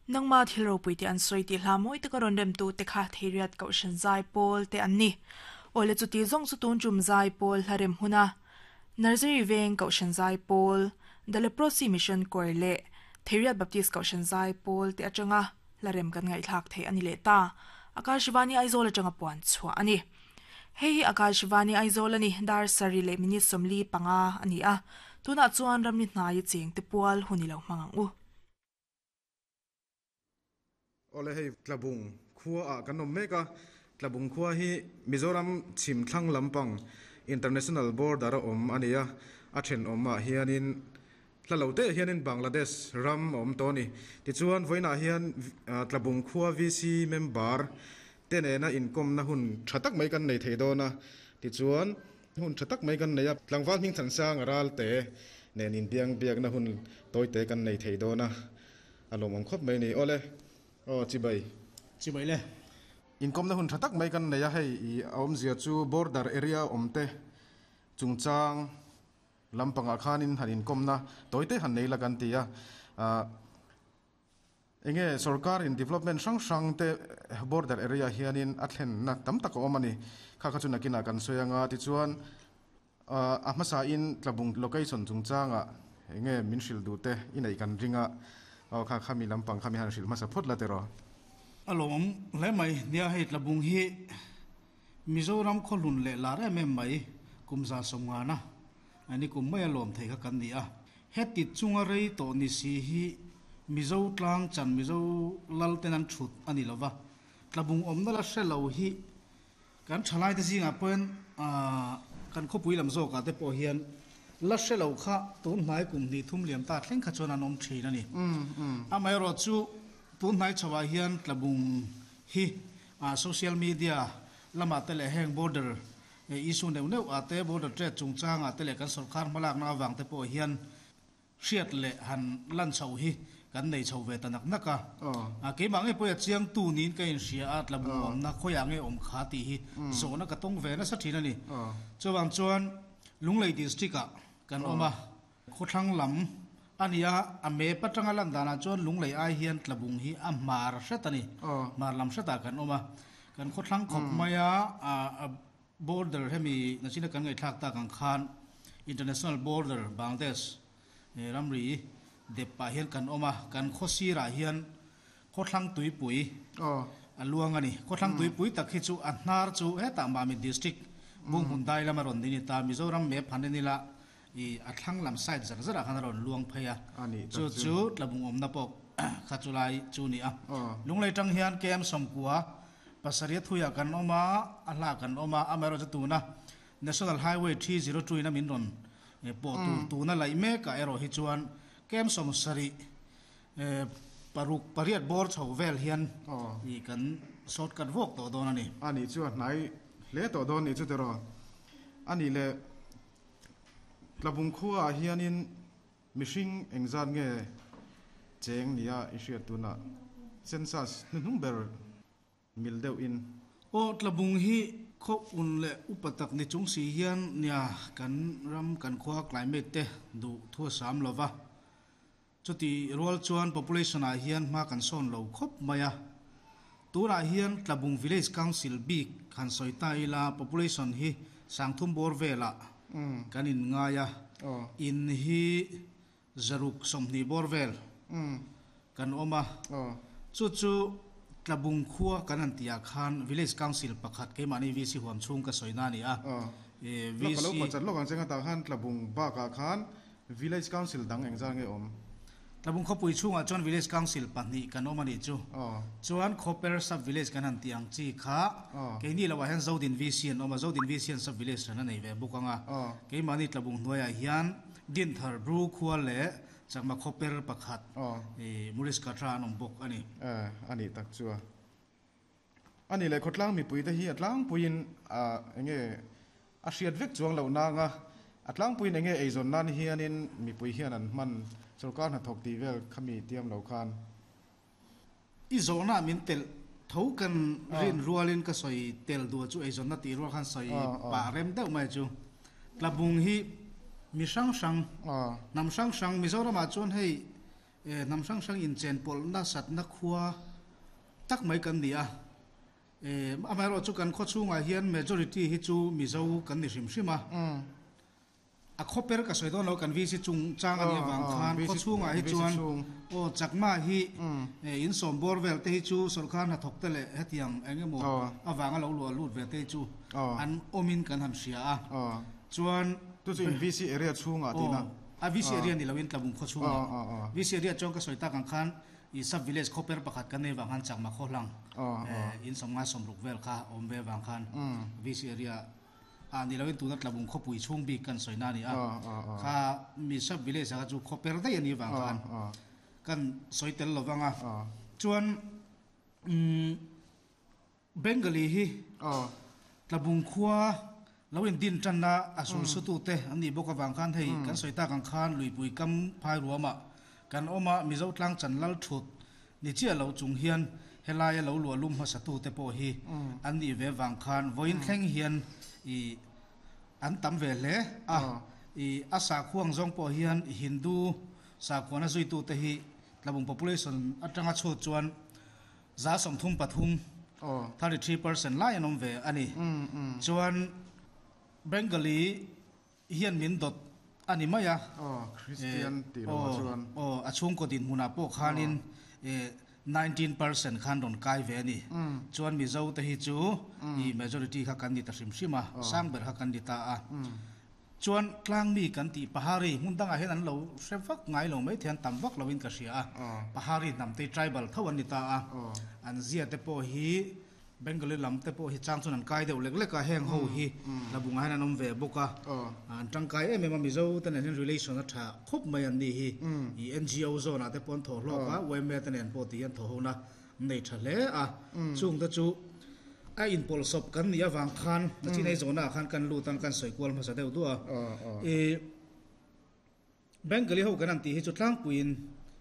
Nangma thil ropui te an sawi tih hla mawi taka rawn remtu te kha Theiriat Kohhran Zaipawl te an ni. Awle chuti zawng chu tun tum Zaipawl hla rem huna Nursery Veng Kohhran Zaipawl, The Leprosy Mission Choir leh Theiriat Baptist Kohhran Zaipawl te atanga hla rem kan ngaihthlak theih a ni leh ta. Akashvani Aizawl atanga puan chhuah a ni. Hei hi Akashvani Aizawl a ni, dar sarih leh minute 45 a ni a. Tunah chuan ramri hnaia cheng te pual hun i lo hmang ang u. Awle hei Tlabung khua ah kan awm mek a, Tlabung khua hi Mizoram chhim thlang lampang International Border a awm a ni a, a thenawm ah hianin hla lo te hianin Bangladesh ram a awm tawh a ni. Tichuan vawiinah hian Tlabung khua VC member te nena inkawmna hun tha tak mai kan nei thei dawn a, tichuan hun tha tak mai kan nei a, tlangval hming thansang a ral te nen inbiang biakna hun tawi te kan nei thei dawn a, a lawmawm khawp mai a ni. Awle, aw chibai. Chibai le. Inkawmna hun tha tak mai kan nei a, hei i a awmzia chu border area awm te chungchang lampangah khanin han inkawmna tawi te han nei la kan ti a, ah. Enge sorkar in development hrang hrang te border area hianin a thlenna tam tak a awm a ni. Kha kha chu nakinah kan sawi anga tichuan a hmasa in Tlabung location chungchangah enge min hrilh duh te i neih kan ring a, aw kha kha mi lampang kha mi han hrilh hmasa phawt la tiraw. A lawmawm hle mai, nia hei Tlabung hi Mizoram khawhlun leh lar em em mai kum 150 a ni kum mai a lawm thei kha kan ni a. Heti chunga rei tawh ni si hi Mizo tlang chan Mizo lal ten an thut a ni lova, Tlabung awmna la hre lo hi kan thalai te zingah pawhin kan khawpui lam zawkah te pawh hian la hre lo kha tun hnai kum hnih thum liam ta thleng kha chuan an awm thin a ni. Amaherawh chu tun hnai chhoah hian Tlabung hi social media lamah te leh heng border Issue neuh neuh ah te, border trade chungchang ah te leh kan sorkar hmalakna avang te pawh hian hriat leh han lan chhoh hi kan nei chho ve ta nak nak a. Keimah ngei pawh a chiangtu niin ka inhria a, tlabung awmna khawiah nge awm kha tih hi zawhna ka tawng ve nasa thin a ni. Chuvang chuan Lunglei District ah kan awm a, khawthlang lam a ni a, a map atanga lan danah chuan Lunglei ai hian tlabung hi a hmar hret a ni, hmar lam hretah kan awm a. Kan khawthlang khawp mai a, border hemi nachina kan ngaihthlak tak ang khan international border Bangladesh ramri dep pah hian kan awm a, kan khaw sirah hian khawthlang tuipui a luang a ni. Khawthlang tuipui tak hi chu a hnar chu hetah Mamit district Bunghmun dai lama rawn ni ta, Mizoram map han en ila I a thlang lam side zar zarah khan a rawn luang phei a, chu chu tlabung awmna pawh kha chu lai chu ni a. Lunglei tang hian KM 90 pasarih thuiah kan awm a, a hla kan awm a, amaherawhchu tuna National Highway 302 in a min rawn pawh tur tuna laih mekah erawh hi chuan KM 76 8 bawr chho vel hian i kan shortcut vawk tawh dawn a ni. A nih chu a hnai hle tawh dawn nih chu tiraw? A nih leh. Tlabung khuaah hianin mihring engzat nge cheng nia i hriat tunah census hnuhnung ber mil deuhin. Aw, Tlabung hi khaw un leh upa tak ni chung si hian nia kan ram kan khua climate te duh thu a sam lova. Chuti rual chuan population ah hian hma kan sawn lo khawp mai a. Tunah hian Tlabung Village Council bik han sawi ta ila population hi sangthum bawr velah kan in ngai a, in hi 120 bawr vel kan awm a. Chu chu Tlabung khua kan han tih ah khan Village Council pakhat keimahni VC huam chhung ka sawina a ni a. VC. Lawk ka lo pawh lawk ang che nga tah khan Tlabung bakah khan Village Council dang engzah nge awm? Tlabung khawpui chhungah chuan Village Council pahnih kan awm a nih chu. Chuan Khawper Sub Village kan han tih ang chi kha keini loah hian Zodin VC an awm a, Zodin VC an Sub Village hran a nei ve bawk ang a. Keimahni Tlabung hnuaiah hian Dinthar Bru khua leh Chakma Khawper pakhat Murish Katra an awm bawk a ni. A nih tak chu a. A nih leh khawtlang mipuite hi a tlangpuiin enge a hriat vek chuang loh nanga a tlangpuiin enge eizawn nan hianin mipui hian an hman sorkar hnathawk tih vel khami tiam lo khan. I zawhna min telh tho kan rin rualin ka sawi tel duh chu eizawnna tih rual khan sawi pah rem deuh mai chu. Tlabung hi mi hrang hrang, hnam hrang hrang Mizoramah chuan hei. Hnam hrang hrang inchenpawlhna satna khua tak mai kan ni a. Amaherawhchu chu kan khaw chhungah hian majority hi chu Mizo kan ni hrim hrim a. A khaw per ka sawi dawn lo kan VC chung chang a nih avang khan khaw chhungah hi chuan aw Chakma hi in sawm bawr vel te hi chu sawrkar hnathawk te leh hetiang eng emaw avanga lo luah lut ve te hi chu an awmin kan han hria a. Chuan Chu chu in VC area chhungah tihna. Aw a VC area ni loin Tlabung khaw chhungah VC area chuan ka sawi tak ang khan i sub village khaw per pakhat kan nei vang khan Chakma khaw hlang in sawmngai sawmruk vel kha awm ve vang khan VC area ah ni loin tuna Tlabung khawpui chhung bik kan sawi na a ni a. Kha mi sub village ah kha chu khaw per daih a nih vang khan kan sawi tel lo vang a. Chuan umm Bengali hi Tlabung khua lo in din tanna a sul sutute an nih bawk avang khan hei kan sawi tak ang khan Luipui kam phai ruamah kan awm a, Mizo tlang chan lal thut ni chiah lo chung hian helaia lo luah lum hmasatute pawh hi an nih ve vang khan vawiin thleng hian ih an tam ve hle a, ih a sakhuang zawng pawh hian Hindu sakhuana zuitute hi Tlabung population atanga chhut chuan 33%, 33%, lai an awm ve a ni. Chuan Bengali hian min dawt a ni mai a. Aw, a chhungkaw dinhmunah pawh khanin 19% khan rawn kai ve a ni. Chuan Mizo te hi chu i majority kha kan ni ta hrim hrim a, sang ber kha kan ni ta a. Chuan tlangmi kan tih Pahari hmun dangah hian an lo hre vak ngai lo mai thei, an tam vak loin ka hria a. Pahari hnam te hi tribal tho an ni ta a. An zia te pawh hi Bengali lam te pawh hi chang chuan an kai deuh lek lek a, heng ho hi Hlabungah hian an awm ve bawk a. An tangkai em em a, Mizo te nen hian relation a tha khawp mai an nih hi. I NGO zone ah te pawh an thawh hlawk a, yma te nen pawh tih hi an thawh hona nei tha hle a, chung te chu a inpawlhsawp kan nih avang khan nachin ei zawhnaah khan kan lut ang kan sawi kual hmasa deuh duah a. I Bengali ho kan han tih hi chu tlangpuiin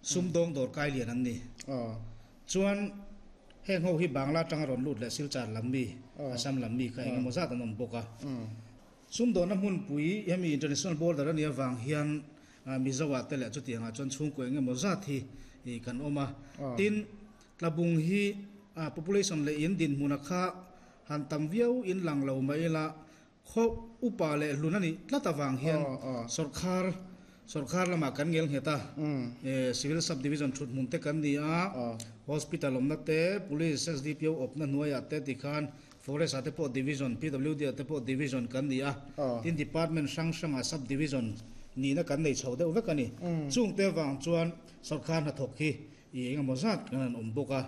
sumdawng dawr kai lian an ni. Chuan heng ho hi Bangla atanga rawn lut leh Silchar lam mi, Assam lam mi kha engemaw zat an awm bawk a. Sumdawnna hmunpui hemi international border a nih avang hian Mizo-ah te leh chutiangah chuan chhungkaw eng emaw zat hi kan awm a. Tin, Tlabung hi population leh in dinhmuna kha han tam viau in lang lo mai ila, khaw upa leh hlun a nih tlat avang hian sawrkhar sawrkhar lamah kan ngel nghet a. Civil Sub Division thut hmun te kan ni a, Hospital awmna te, Police, SDPO awpna hnuaiah te tikhan Forest ah te pawh Division, PWD ah te pawh Division kan ni a, tin Department hrang hrangah Sub Division nihna kan nei chho deuh vek a ni. Chungte avang chuan sawrkar hnathawk hi i engemaw zat kan han awm bawk a,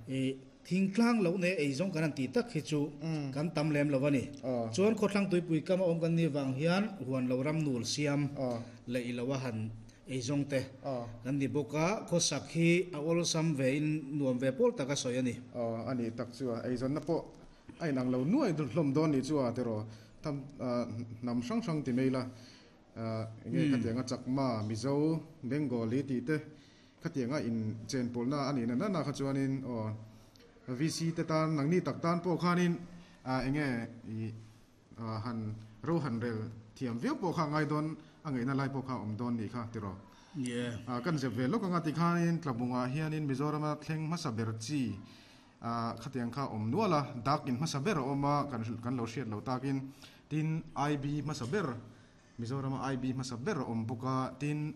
i thingtlang loh nei eizawng kan han tih tak hi chu kan tam lem lo a ni. Chuan khawthlang tuipui kama awm kan nih vang hian huan lo ram nul siam leh i lo a han eizawng te kan ni bawk a, khawsak hi a awlsam ve in nuam ve pawl tak a sawi a ni. Aw a nih tak chu a, eizawnna pawh a inang lo nuai hlawm dawn nih chu a tiraw, tham hnam hrang hrang ti mai la, enge khatianga Chakma, Mizo, Bengali tih te khatianga in chenpawlna a nih na na kha chuanin aw VC te tan nangni tak tan pawh khanin enge i Han ro han rel thiam viau pawh kha ngai dawn a ngaihna lai pawh kha awm dawn nih kha tiraw. Kan zep ve lawk anga tikhanin Tlabungah hianin Mizorama thleng hmasa ber chi khatiang kha awm nual a, dak in hmasa ber a awm a kan lo hriat lo takin tin IB hmasa ber Mizorama IB hmasa ber a awm bawk a, tin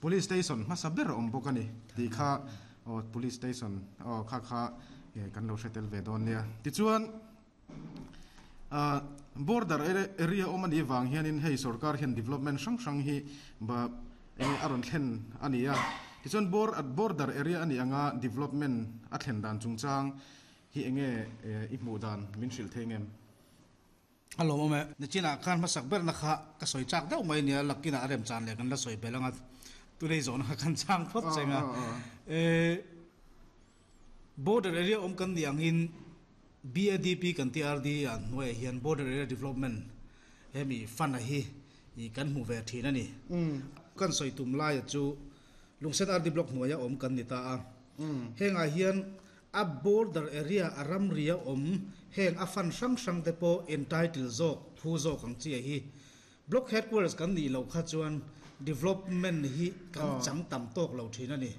Police Station hmasa ber a awm bawk a ni tih kha aw Police Station aw kha kha kan lo hre tel ve dawn nia. Tichuan. Border area awm a nih vang hianin hei sorkar hian development hrang hrang hi enge a rawn thlen a ni a. Tichuan border area a nih anga development a thlen dan chungchang hi enge i hmuh dan min hrilh thei ngem? A lawmawm e. Nichinah khan hmasak berna kha ka sawi chak deuh mai nia, lakkinah a remchan leh kan la sawi belh anga tunei zawhna kha kan chang phawt cheng a. Border area awm kan nih angin BADP kan TRD ah hnuaiah hian Border Area Development hemi fund a hi kan hmu ve thin a ni. Kan sawi tum laia chu Lungsen RD Block hnuaia awm kan ni ta a. Hengah hian a border area a ramri a awm heng a fund hrang hrang te pawh entitle zawk phu zawk ang chi a hi. Block Headquarters kan nih loh kha chuan development hi kan chang tam tawk lo thin a ni.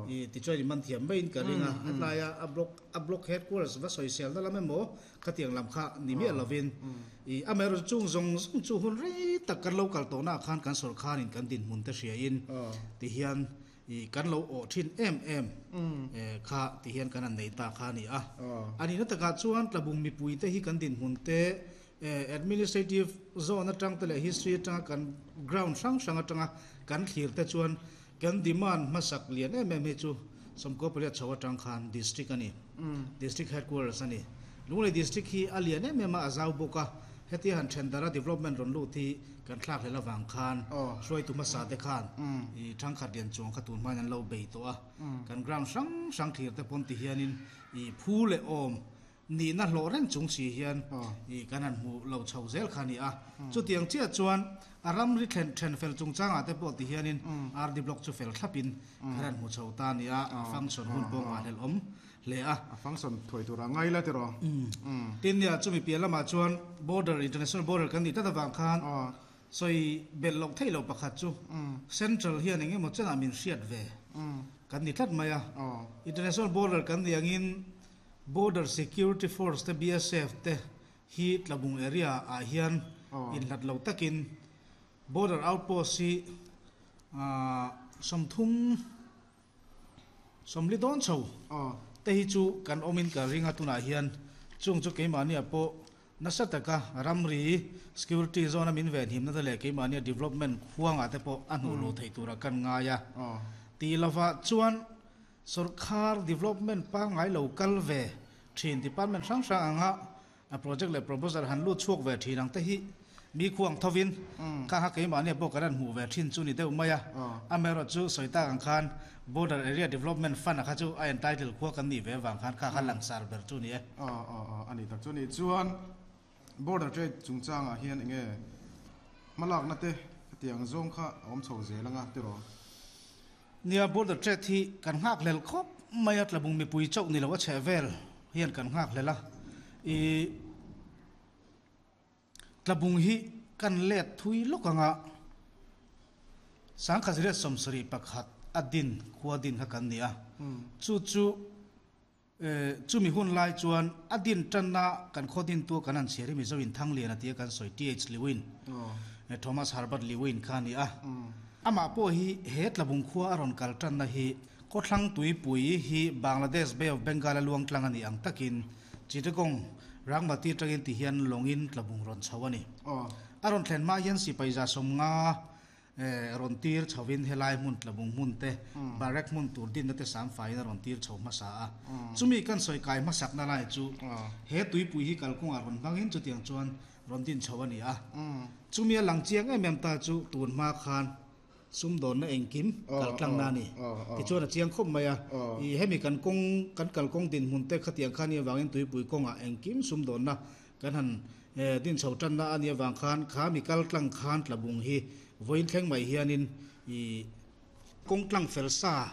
I tichuan i man thiam maiin ka ring a, helaia a block a block headquarters va sawisel na lam emaw khatiang lam kha ni miah lovin i amaherawhchu chung zawng zawng chu hun rei tak kan lo kal tawhnaah khan kan sawrkharin kan dinhmun te hriain tihian I kan lo awh thin em em kha ti hian kan han nei ta kha a ni a. A nihna takah chuan Tlabung mipui te hi kan dinhmun te administrative zone atang te leh history atanga kan ground hrang hrang atanga kan thlir te chuan kan demand hmasak lian em em hi chu Sawmkaw pariat chho atang khan district a ni. District headquarters a ni. Lunglei district hi a lian em em a, a zau bawk a. Hetia han then dara development rawn lut hi kan thlak hlel avang khan hruaitu hmasa te khan i thangkhat lian chuang kha tun hmain an lo bei tawh a. Kan ground hrang hrang thlir te pawn ti hianin i phu leh awm nihna hlawh reng chung si hian i kan han hmu lo chho zel kha a ni a. Chutiang chiah chuan a ramri thlen then fel chungchangah te pawh ti hianin RD block chu fel thlapin kan han hmu chho ta a ni a, a function hun pawh nghahhlelh awm hle a. A function thuai tur a ngai la tiraw? Tin nia, chumi piah lamah chuan border, international border kan nih tlat avang khan sawi belh loh theih loh pakhat chu central hian eng emaw chenah min hriat ve kan ni tlat mai a. International border kan nih angin Border Security Force te, BSF te hi Tlabung area ah hian inhlat lo takin border outpost hi 30 40 dawn chho te hi chu kan awmin ka ring a tunah hian chung chu keimahniah pawh nasa taka ramri security zone a min venhimna te leh keimahnia development khuangah te pawh a hnuh luh theih turah kan ngai a tih lovah chuan Sawrkar development pangngai lo kal ve thin department hrang hrang anga a project leh proposal han lut chhuak ve thin ang te hi mi khuang thovin kha kha keimahnia pawh kan han hmuh ve thin chu ni deuh mai a. Amaherawh chu sawi tak ang khan Border Area Development Fund a kha chu a entitle khua kan nih ve avang khan kha kha langsar ber chu ni e. A ni tak chu ni. Chuan Border Trade chungchangah hian enge hmalakna te khatiang zawng kha a awm chho zel anga tiraw? Nia, Border Trade hi kan nghakhlel khawp mai a, Tlabung mipui chauh ni lo a chheh vel hian kan nghakhlel a. I Tlabung hi kan let thui lawk anga 1971 a din khua din kha kan ni a, chu chu Chumi hun lai chuan a din tanna kan khaw dintu kan han chhiar hi Mizo in Thanglian a tia kan sawi TH Lewin, Thomas Herbert Lewin kha a ni a. Amah pawh hi he Tlabung khua a rawn kal tanna hi Khawthlang Tuipui hi Bangladesh Bay of Bengal a luang tlang a nih ang takin Chittagong Rangmati atangin ti hian lawngin Tlabung rawn chho a ni. A rawn thlen hma hian sipai 150 Rawn tir chhovin helai hmun Tlabung hmun te, barrack hmun tur dinna te sam faiin a rawn tir chho hmasa a. Chumi kan sawi kai hmasakna lai chu he tuipui hi kalkawngah rawn hmangin chutiang chuan rawn din chho a ni a. Chumi a lang chiang em em ta chu tun hma khan sumdawnna engkim kaltlangna a ni. Tichuan a chiang khawp mai a, i hemi kan kawng kan kalkawng dinhmun te khatiang khan i avangin tuipui kawngah engkim sumdawnna Kan han din chho tanna a nih avang khan kha mi kal tlang khan Tlabung hi vawiin thleng mai hianin i kawng tlang fel sa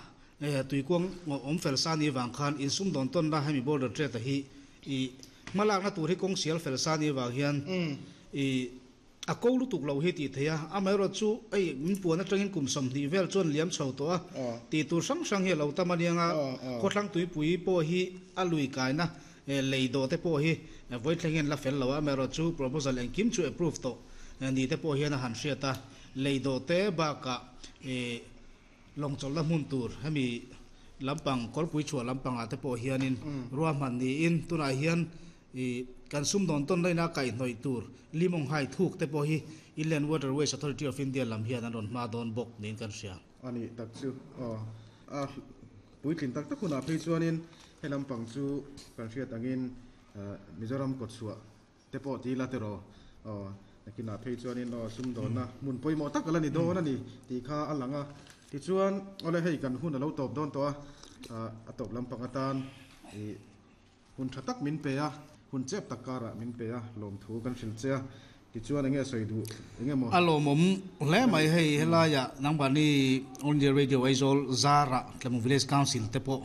tuikuang awm fel sa a nih avang khan insumdawn tawnna hemi border trade a hi i hmalakna tur hi kawng sial fel sa a nih avang hian i a ko lutuk loh hi tih theih a, amaherawh chu hei min puan atangin kum 20 vel chuan liam chho tawh a, tih tur hrang hrang hi a lo tam aniang a, khawthlang tuipui pawh hi a lui kaina lei dawh te pawh hi vawi thleng hian la fel lo a, amaherawh chu proposal engkim chu approve tawh ni te pawh hian a han hriat a, lei dawh te bakah lawng chawlhna hmun tur hemi lampang kawlpui chhuah lampangah te pawh hianin ruahman niin tunah hian I kan sumdawn tawn laina kaihhnawih tur Limawng Hai thuk te pawh hi Inland Waterways Authority of India lam hian an rawn hma dawn bawk niin kan hria. A nih tak chu aw. A puitlin tak tak hunah phei chuanin he lampang chu kan hriat angin Mizoram kawtchhuah te pawh ti ila tiraw aw. Nakinah phei chuanin aw sumdawnna hmun pawimawh tak a la ni dawn a ni tih kha a lang a. Tichuan awle hei kan hun a lo tawp dawn tawh a, a tawp lampang atan i Hun tha tak min pe a, hun chep tak karah min pe a, lawmthu kan hrilh che a, tichuan enge sawi duh enge maw? A lawmawm hle mai hei helaiah nangmahni All India Radio Aizawl zarah Tlamung Village Council te pawh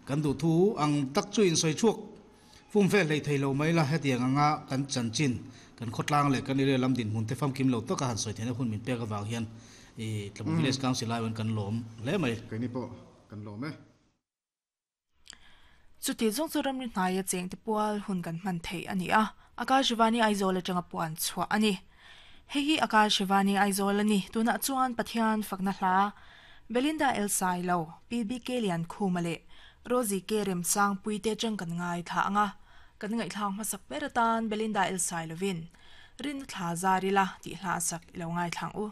kan duh thu ang tak chu insawi chhuak fum vel hlei thei lo mai la, hetiang anga kan chanchin kan khawtlang leh kan area lam dinhmun te famkim lo taka han sawi theihna hun min pek avang hian. I Tlabung Village Council aiawhin kan lawm hle mai. Keini pawh kan lawm e. Chuti zawng chu ramri hnaia chengte pual hun kan hman theih a ni a, Akashvani Aizawl atanga puan chhuah a ni. Hei hi Akashvani Aizawl a ni, tunah chuan Pathian fakna hla Belinda El Sailo, PBK Liankhuma leh Rosie K Remsangpuite atang kan ngaithla ang a, kan ngaihthlak hmasak ber atan Belinda El Sailovin Rinna thla zar ila tih hla a sak i lo ngaithla ang u.